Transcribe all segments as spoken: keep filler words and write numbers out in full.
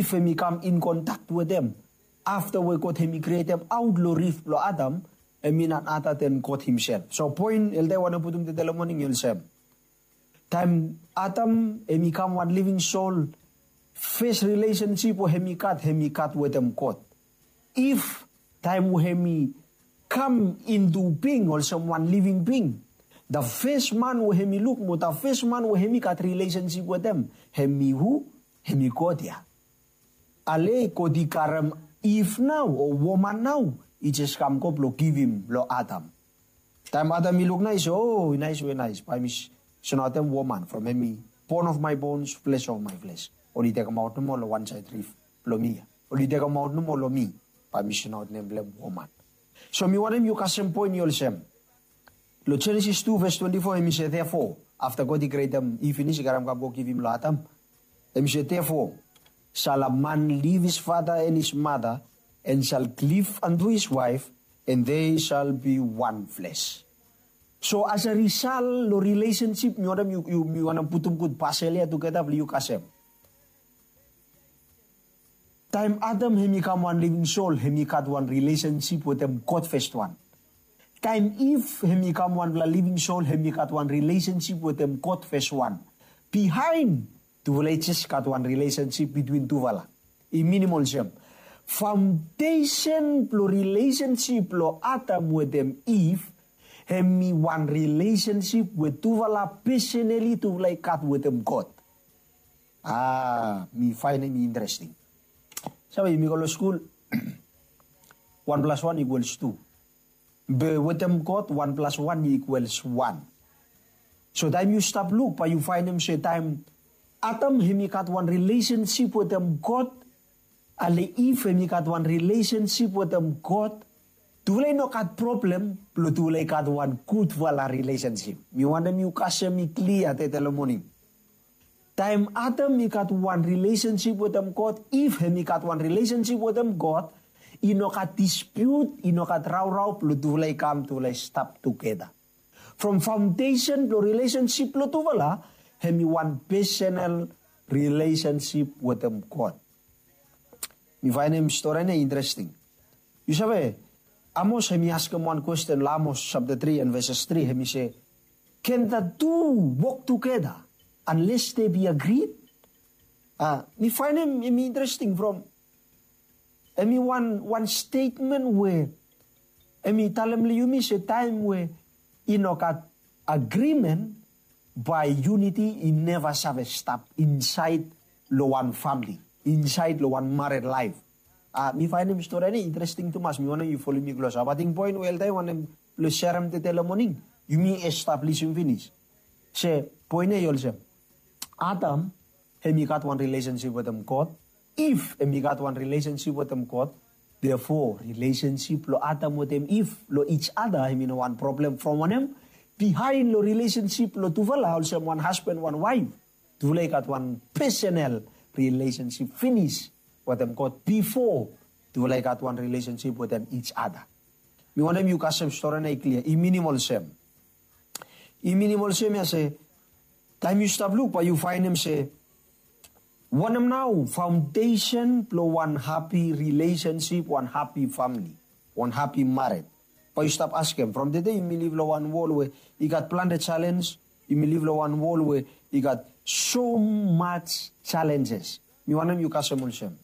If hem i kam in kontak wetem afta we God hem i krietem aut long rif blong Adam, hem i nanaten God himself. So poen elta i wantem putum tede long moning i olsem. Taem Adam hem i kam wan living soul, fes rilesensip we hem i gat, hem i gat wetem God. If taem we hem i kam intu bing olsem wan living bing, da fes man we hem i luk mo da fes man we hem i gat rilesensip wetem, hem i hu? Hem i God ya. Ale God i karem Iv nao o woman nao, i jes kam go blong givim long Adam. Taem Adam i luk nao i se, o, i nais we nais, bae mi sonaotem woman from hem i bone of my bones, flesh of my flesh. Oli tekemaot nomo long wan saed rif blong mi ya. Oli tekemaot nomo long mi, bae mi sonaot nem blong hem woman. So mi wantem yu kasem poen i olsem. Long Jenesis tu ves twenti fo hem i se therefore, afta God i krietem Iv finis i karem kam go givim long Adam. Hem i se therefore, shall a man leave his father and his mother, and shall cleave unto his wife, and they shall be one flesh. So as a result long rilesensip mi wantem yu, yu, mi wantem putum gud pasel ya tugeta blong yu kasem. Taem Adam hem i kam wan living soul, hem i gat wan rilesensip wetem God fes wan. Taem Iv hem i kam wanpela living soul, hem i gat wan rilesensip wetem God fes wan. Bihaen tufala i jes gat wan rilesensip bitwin tufala. I minim olsem, faondesen blong rilesensip blong Adam wetem Iv hem i wan rilesensip we tufala pesenali tufala i gat wetem God. A, mi faenem i interesting. Save, yumi go long skul, wan plas wan ikuals tu. Be wetem God wan plas wan ikuals wan. So taem yu stap luk bae yu faenem se taem Adam hem i gat wan rilesensip wetem God, ale Iv hem i gat wan rilesensip wetem God, tufala i no gat problem blong tufala i gat wan gudfala rilesensip. Mi wantem yu kasem i klia tede long moning. Taem Adam i gat wan rilesensip wetem God, Iv hem i gat wan rilesensip wetem God, i no gat dispute, i no gat raurau blong tufala i kam tufala i stap tugeta. From faondesen blong rilesensip blong tufala hem i wan pesenal rilesensip wetem God. Mi faenem stori ya interesting. Yu save, Amos hem i askem wan kwesten long Amos sapta tri and veses tri, hem i se, can the two walk together unless they be agreed? A, mi faenem hem i interesting from hem i wan wan stetmen we hem i talem long yumi se taem we i no gat agreement, bae unity i neva save stap insaed long wan famili, insaed long wan mared laef. A, mi faenem stori ya interesting tumas, mi wantem yu folem mi klos. A, ating poen we elta i wantem blong serem tede long moning, yumi establisim finis. Se poen ya i olsem, Adam hem i gat wan rilesensip wetem God, Iv hem i gat wan rilesensip wetem God. Therefore rilesensip blong Adam wetem Iv long each other hem i no wan problem. From wanem? Bihaen long rilesensip blong tufala olsem wan hasban wan waef, tufala i gat wan pesenal rilesensip finis wetem God bifo tufala i gat wan rilesensip wetem each other. Mi wantem yu kasem stori ya i klia, i minim olsem. I minim olsem ya se, taem yu stap luk bae yu faenem se wanem nao faondesen blong wan hapi rilesensip, wan hapi famili, wan hapi mared. Bae yu stap askem, from tede yumi liv long wan wol we i gat plante jalenj, yumi liv long wan wol we i gat so much challenges. Mi wantem yu kasem olsem,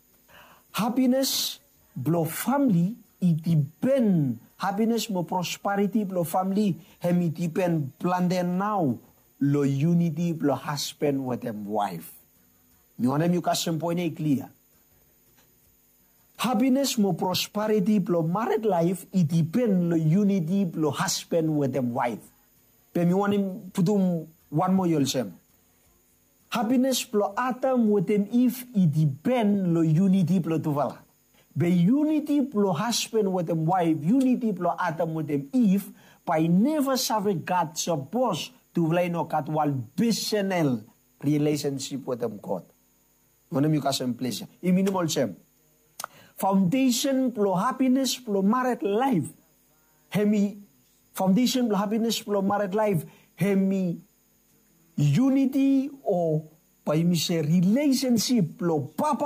hapines blong famili i dipen, hapines mo prosperiti blong famili hem i dipen plante nao long unity blong hasban wetem waef. Mi wantem yu kasem poen ya i klia. Hapines mo prosperiti blong mared laef i dipen long unity blong hasban wetem waef. Be mi wantem putum wan moa i olsem, hapines blong Adam wetem Iv i dipen long unity blong tufala. Be unity blong hasban wetem waef, unity blong Adam wetem Iv, bae i neva save gat sapos tufala i no gat wan pesenal rilesensip wetem God. Wanem yu kasem ples ya? I minim olsem, faondesen blong hapines blong mared laef hem i, faondesen blong hapines blong mared laef hem i unity, o bae yumi se rilesensip blong papa